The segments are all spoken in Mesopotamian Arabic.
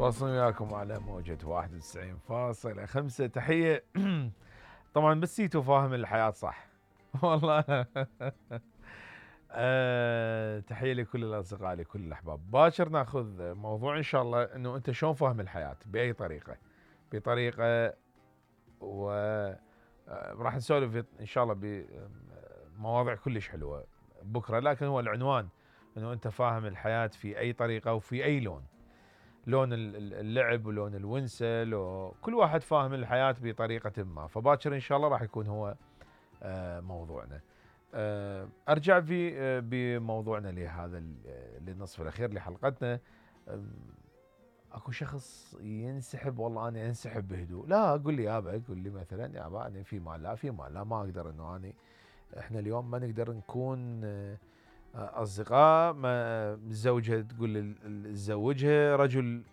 واصل وياكم على موجة 91.5 تحية. طبعا بس سيتو فاهم الحياة صح. والله. تحية لكل الأصدقاء لكل الأحباب. باكر ناخذ موضوع إن شاء الله إنه أنت شلون فاهم الحياة بأي طريقة، بطريقة راح نسولف إن شاء الله بمواضيع كلش حلوة بكرة، لكن هو العنوان إنه أنت فاهم الحياة في أي طريقة وفي أي لون. لون اللعب ولون الونسة، كل واحد فاهم الحياة بطريقة ما، فباكر إن شاء الله راح يكون هو موضوعنا. أرجع في بموضوعنا لهذا للنصف الأخير لحلقتنا. اكو شخص ينسحب، والله انا انسحب بهدوء. لا اقول لي يابا، قول لي مثلا يابا انا في مال لا في مال لا، ما اقدر انه اني احنا اليوم ما نقدر نكون اصدقاء. ما الزوجه تقول تزوجها، رجل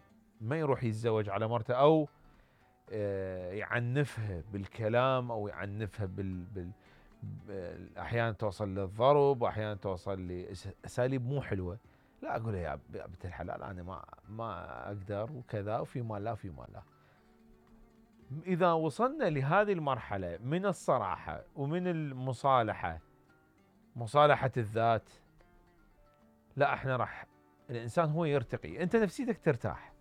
ما يروح يتزوج على مرته او يعنفها بالكلام او يعنفها احيانا توصل للضرب واحيانا توصل لاساليب مو حلوه. لا اقول يا بنت الحلال انا ما اقدر وكذا، وفي مال لا في مال لا. اذا وصلنا لهذه المرحله من الصراحه ومن المصالحه، مصالحه الذات، لا احنا راح الانسان هو يرتقي، انت نفسيتك ترتاح.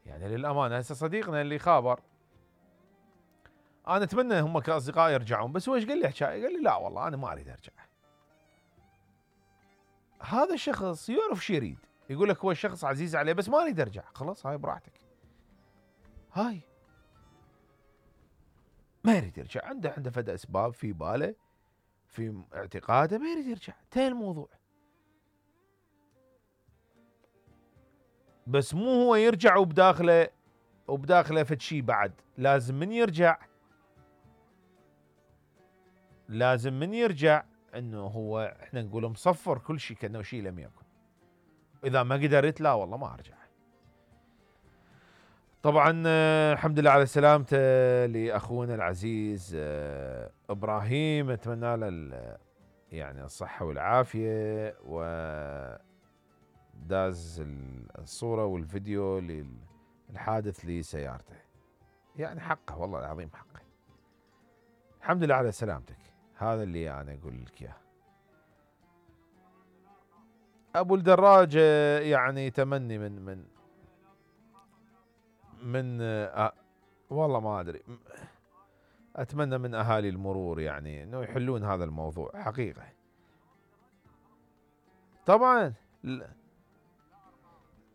يعني للامانه هسه صديقنا اللي خابر انا اتمنى هم كاصدقاء يرجعون، بس هو ايش قال لي حكايه؟ قال لي لا والله انا ما اريد ارجع. هذا الشخص يعرف شو يريد، يقول لك هو الشخص عزيز عليه بس ما اريد ارجع. خلاص هاي براحتك، هاي ما يريد يرجع، عنده فد اسباب في باله في اعتقاده ما يريد يرجع، انتهى الموضوع. بس مو هو يرجع وبداخله فد شي بعد. لازم من يرجع انه هو احنا نقول مصفر كل شيء كانه شيء لم يكن. اذا ما قدرت لا والله ما ارجع. طبعا الحمد لله على سلامته لاخونا العزيز ابراهيم، اتمنى له يعني الصحه والعافيه. وداز الصوره والفيديو للحادث لسيارته، يعني حقه والله العظيم حقه. الحمد لله على سلامتك، هذا اللي انا اقول لك اياه. ابو الدراجه يعني تمني من والله ما ادري، اتمنى من اهالي المرور يعني انه يحلون هذا الموضوع حقيقه. طبعا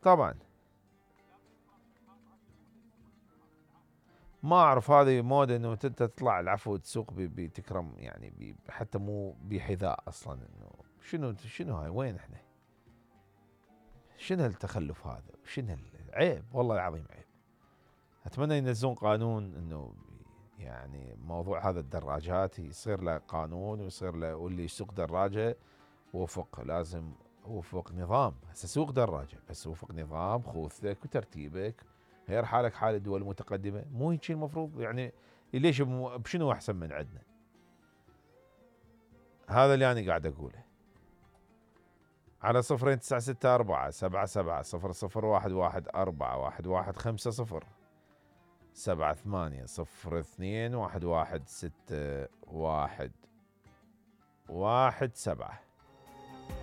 طبعا ما اعرف، هذه موده انه انت تطلع العفو تسوق بتكرم يعني حتى مو بحذاء اصلا. انه شنو هاي؟ وين احنا؟ شنو التخلف هذا؟ شنو عيب والله العظيم عيب. اتمنى ينزلون قانون انه يعني موضوع هذا الدراجات يصير له قانون ويصير له، واللي يسوق دراجه لازم وفق نظام. هسه سوق دراجه بس وفق نظام خوذتك وترتيبك، غير حالك حال الدول المتقدمه. مو هيك المفروض يعني؟ ليش بشنو احسن من عندنا؟ هذا اللي انا قاعد اقوله. على 0964-7700-0011-415-0 78-02-1161-117.